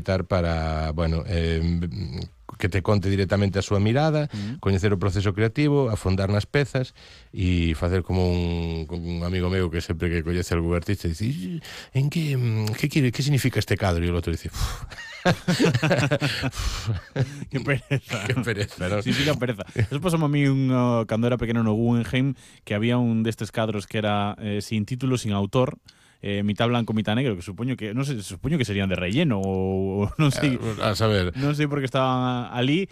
para, bueno, que te conte directamente a súa mirada, coñecer o proceso creativo, afondar nas pezas e facer como un amigo meu que sempre que coñece algún artista dice, en que significa este cadro? E o outro dice, Que pereza. que pereza, ¿no? Significa pereza. Eso pasou a mí cando era pequeno no Guggenheim, que había un destes cadros que era sin título, sin autor, mitad blanco, mitad negro, que supoño que, non sei, supoño que serían de relleno ou non sei. A saber. Non sei por que estaban ali.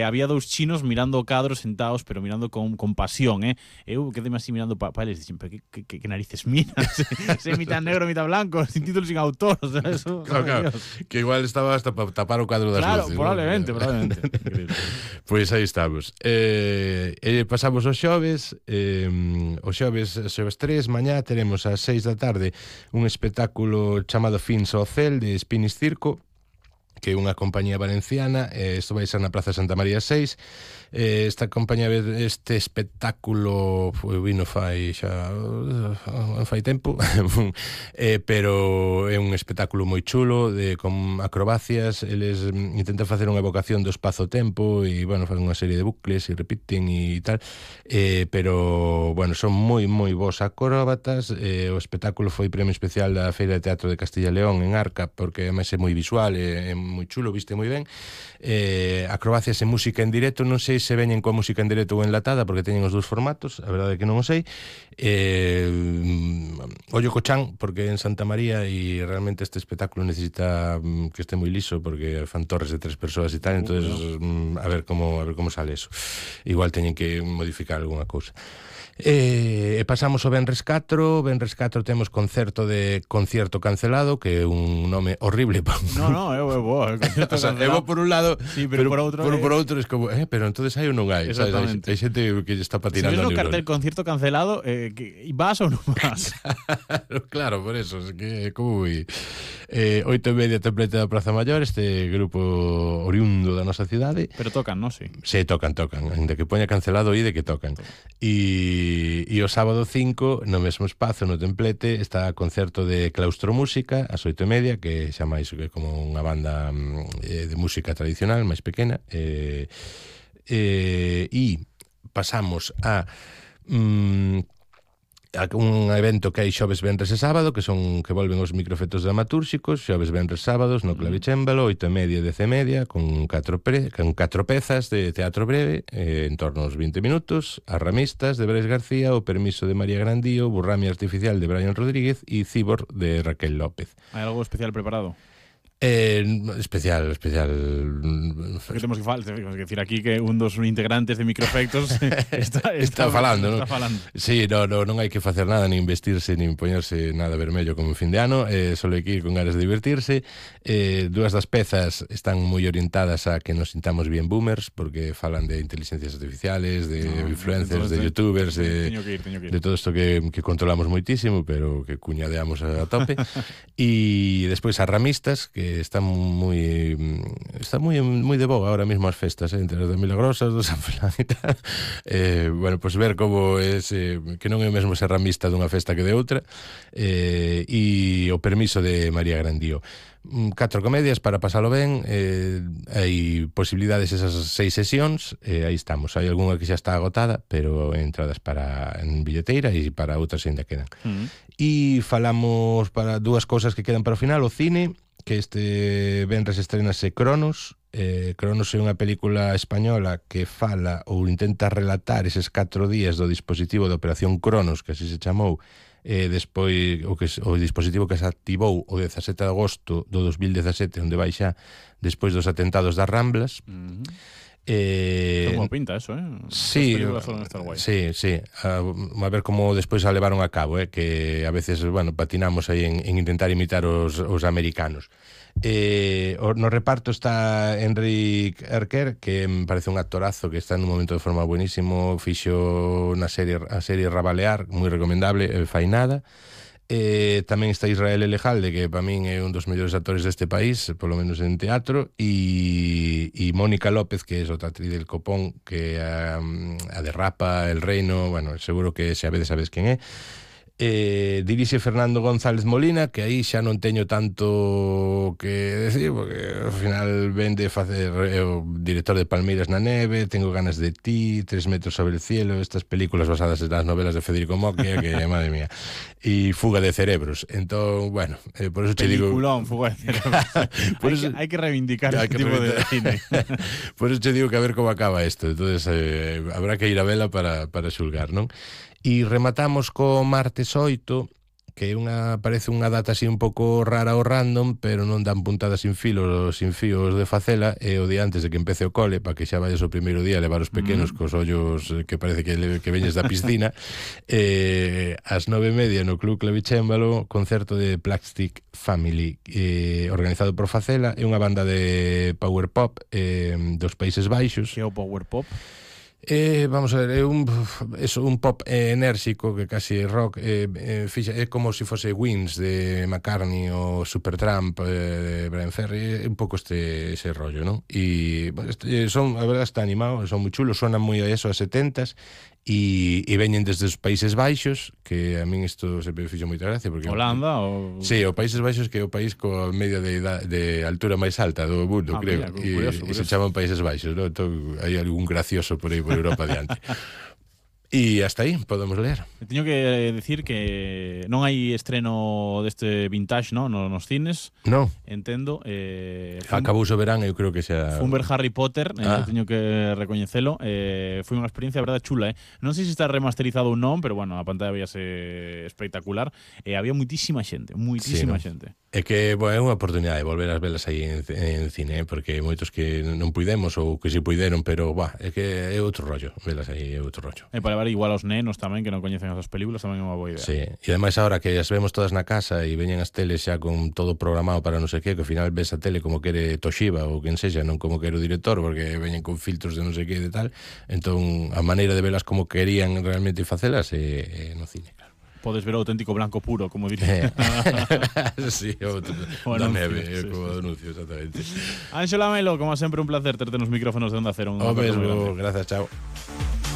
Había dous chinos mirando o cadro sentados, pero mirando con pasión, Eu quedé así mirando para eles, dixen, pero que narices miras? Se mitad negro, mitad blanco, sin título, sin autor, o sea, eso. Claro, que igual estaba hasta para tapar o cadro das luces. Claro, probablemente. Pois aí estamos. Pasamos os xoves, xoves 3, mañá teremos ás 6 da tarde un espectáculo chamado Fins ao Cel de Spinis Circo, que é unha compañía valenciana. Isto vai ser na Praza Santa María 6. Esta compañía, este espectáculo vino fai tempo pero é un espectáculo moi chulo con acrobacias. Eles intentan facer unha evocación do espazo-tempo e, bueno, fan unha serie de bucles e repiten e tal, pero, bueno, son moi, moi bons acróbatas. O espectáculo foi premio especial da Feira de Teatro de Castilla e León en Arca, porque ademais é moi visual, é moi chulo, viste moi ben. Acrobacias e música en directo, non sei se veñen coa música en directo ou enlatada, porque teñen os dous formatos, a verdade é que non o sei. Ollo co chan, porque en Santa María, e realmente este espectáculo necesita que este moi liso, porque fan torres de 3 persoas e tal, entonces a ver como sale eso. Igual teñen que modificar algunha cousa. Pasamos ao Venres 4. Venres 4 temos concierto cancelado, que é un nome horrible. No, é bo, concierto cancelado. É bo por un lado, sí, pero por outro é como, pero entonces hai ou non hai? Exactamente. Hai xente que está patinando. Si ves no cartel concierto cancelado, vas ou non vas? Claro, por eso, es que como voy. 8:30 Templete da Praza Maior, este grupo oriundo da nosa cidade. Pero tocan, non? Sí. Sí, tocan, ainda que poña cancelado e de que tocan. E o sábado 5, no mesmo espazo, no Templete, está concerto de Claustro Música ás 8:30, que xa máis como unha banda de música tradicional máis pequena. E pasamos a un evento que hai xoves, venres e sábado, que volven os microfetos dramatúrxicos, xoves, venres, sábados no Clavicémbalo, 8:30 e 10:30, con 4 pezas de teatro breve, en torno aos 20 minutos, As Ramistas de Brais García, O Permiso de María Grandío, Burrami Artificial de Brian Rodríguez e Cibor de Raquel López. Hai algo especial preparado? Especial. Porque temos que decir aquí que un dos integrantes de Microefectos está falando, ¿no? Sí, non hai que facer nada, nin vestirse, nin poñerse nada vermello como en fin de ano, solo hai que ir con ganas de divertirse. Dúas das pezas están moi orientadas a que nos sintamos bien boomers, porque falan de inteligencias artificiales, de influencers, de youtubers, de todo isto que controlamos moitísimo, pero que cuñadeamos a tope. E despois As Ramistas, que está moi de boga ahora mismo as festas, entre as de Milagrosas, do San Fran e tal. Bueno, pues ver como que non é o mesmo ser ramista dunha festa que de outra. E O Permiso de María Grandío. 4 comedias para pasalo ben. Hai posibilidades esas 6 sesións, aí estamos. Hai algunha que xa está agotada, pero entradas en billeteira e para outras ainda quedan. E falamos para dúas cousas que quedan para o final. O cine, que este venres estrenase Cronos. Cronos é unha película española que fala ou intenta relatar eses 4 días do dispositivo de Operación Cronos, que así se chamou, despois o dispositivo que se activou o 17 de agosto do 2017, onde vai xa despois dos atentados das Ramblas. Como pinta eso, Sí, a ver como despois a levaron a cabo, que a veces, bueno, patinamos aí en intentar imitar os americanos. No reparto está Enric Erker, que me parece un actorazo, que está en un momento de forma buenísimo, fixo a serie Rabalear, moi recomendable, fai nada. Tamén está Israel Elejalde, que para min é un dos mellores actores deste país, polo menos en teatro, e Mónica López, que é outra actriz del Copón, que a de Rapa, El Reino, bueno, seguro que se a veces sabes quen é. Dirixe Fernando González Molina, que aí xa non teño tanto que decir, porque ao final vende facer o director de Palmeiras na neve, Tengo ganas de ti, 3 metros sobre el cielo, estas películas basadas nas novelas de Federico Mocchia, que madre mía, e Fuga de cerebros. Entón, bueno, por eso te digo... Peliculón, Fuga de cerebros. Hai que reivindicar este tipo de cine. Por eso te digo que a ver como acaba isto. Entonces, habrá que ir a vela para xulgar, non? E rematamos co martes 8, que parece unha data así un pouco rara ou random, pero non dan puntadas sin fíos de facela, e o día antes de que empece o cole, para que xa vayas o primeiro día a levar os pequenos cos ollos que parece que veñes da piscina, ás 9:30 no Club Clavicémbalo, concerto de Plastic Family, organizado por Facela, é unha banda de power pop dos Países Baixos. Que é o power pop? Vamos a ver, é un pop enérxico que casi é rock, é como se fose Wings de McCartney ou Supertramp de Brian Ferry, é un pouco ese rollo, non? E a verdade está animado, son moi chulos, sonan moi a eso, a 70s, e veñen desde os Países Baixos, que a min isto sempre me fixo moita gracia porque Holanda ou... Sí, o Países Baixos, que é o país coa media de altura máis alta do mundo, creo. Mira, curioso. E se chaman Países Baixos, ¿no? Entón, hai algún gracioso por aí por Europa diante. E hasta aí podemos ler. Teño que decir que non hai estreno deste vintage, ¿no? Nos cines. Non. Entendo. Acabou o verán, eu creo que xa... Fun ver Harry Potter, teño que recoñecelo. Foi unha experiencia, a verdade, chula, Non sei se está remasterizado ou non, pero bueno, a pantalla veíase espectacular. Había muitísima xente, xente. É que, bueno, é unha oportunidade de volver as velas aí en cine, porque moitos que non puidemos ou que si puideron, pero, é que é outro rollo, velas aí é outro rollo. E para ver igual aos nenos tamén, que non coñecen esas películas, tamén é unha boa idea. Sí, e ademais agora que as vemos todas na casa e veñen as teles xa con todo programado para non sei que ao final ves a tele como quere Toshiba ou quen sexa, non como quere o director, porque veñen con filtros de non sei que de tal, entón a maneira de velas como querían realmente facelas é no cine, claro. Podes ver o auténtico blanco puro, como diría. Sí, da neve, como anuncio, exactamente. Ánxela Melo, como sempre un placer terte nos micrófonos de Onda Cero. O mesmo, gracias, chao.